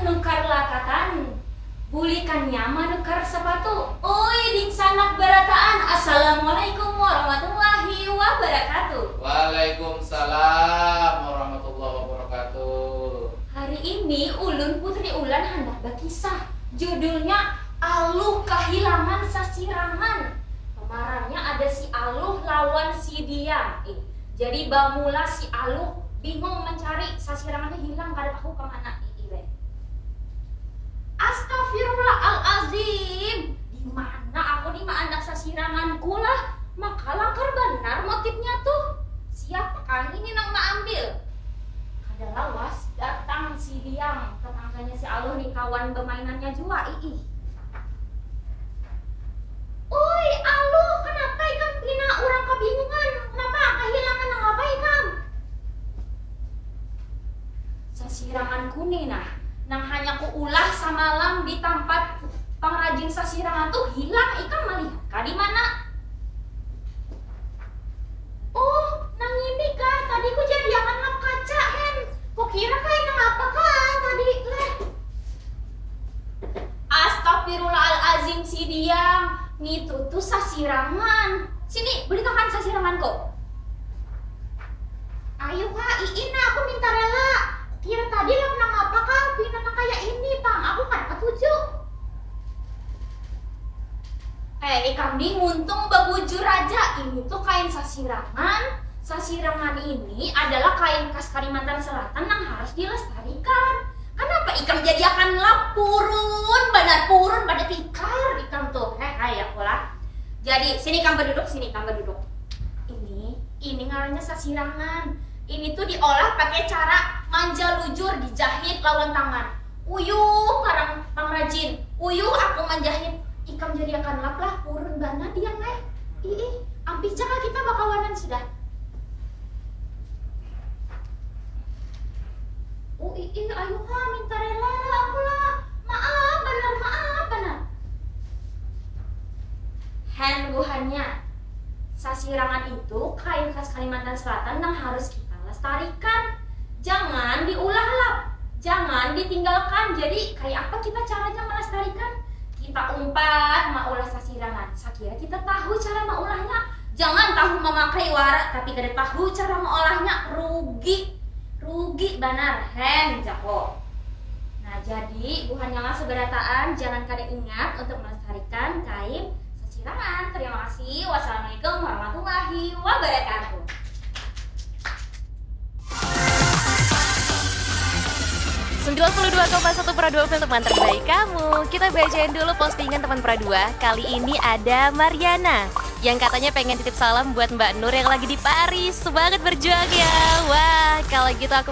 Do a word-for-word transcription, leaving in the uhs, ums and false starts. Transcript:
Nukar lakatan, bulikannya manukar sapatu. Oi, dingsanak barataan, assalamualaikum warahmatullahi wabarakatuh. Waalaikumsalam warahmatullahi wabarakatuh. Hari ini ulun Putri Ulan handak bakisah. Judulnya Aluh Kahilangan Sasirangan. Pemerannya ada si Aluh lawan si Diang. Eh, jadi bamula si Aluh bingung mencari sasirangannya hilang, kada tahu kemana. Ih, ih, weh. Astagfirullahalazim. Di mana aku ni maandak sasiranganku lah? Maka langkar banar motifnya tuh. Siapa kah ini nang maambil? Kada lawas datang si Diang, tetangganya si Aluh ni, kawan bemainannya jua. Ih, ih. Oi, Aluh, kenapa ikam pina urang kabingungan? Kenapa? Kahilangan nang apa ikam? Sasiranganku ni nah, nang hanya kuulah samalam di tampat pangrajin sasirangan tuh hilang. Ikam malihat kah di mana? Oh, nang ini kah? Tadi kujadiakan lap kaca, Hen. Kukira kain nang apa kah tadi, leh? Astagfirullahalazim si Diang, ngitu tuh sasirangan. Sini, bulikakan sasiranganku. Ayu ha, iih nah, aku minta rela. Kira tadi lap nang apa kah, pina nang kaya ini pang, aku kada katuju. Eh, ikam ni muntung babujur aja, ini tuh kain sasirangan. Sasirangan ini adalah kain khas Kalimantan Selatan nang harus dilestarikan. Kanapa ikam jadiakan lap, purun banar, purun pada tikar ikam tuh. Heh, hai aku lah. Jadi, sini ikam baduduk, sini ikam baduduk. Ini, ini ngarannya sasirangan. Ini tuh diolah pakai cara manjalujur, dijahit lawan tangan. Uyuh parang pangrajin, uyuh aku manjahit. Ikam jadiakan lap lah, purun banar Diang ai. Iih, ampih ja kah kita bakawanan sudah. Oh iih, ayu ha, minta rela lah aku lah. Maaf banar, maaf banar. Hen buhannya, sasirangan itu kain khas Kalimantan Selatan nang harus kita lestarikan. Jangan diulah lap, jangan ditinggalkan. Jadi, kaya apa kita caranya melestarikan? Kita umpat maulah sasirangan. Sakira kita tahu cara maulahnya, jangan tahu memakai wara tapi kada tahu cara maulahnya, rugi. Rugi banar, hen, jako. Nah, jadi buhannya lah seberataan, jangan kada ingat untuk melestarikan kain sasirangan. Terima kasih. Wassalamualaikum warahmatullahi wabarakatuh. Sembilan puluh dua koma satu Pro dua Film terbaik kamu. Kita bacain dulu postingan teman Pro dua. Kali ini ada Mariana yang katanya pengen titip salam buat Mbak Nur yang lagi di Paris. Semangat berjuang ya. Wah, kalau gitu aku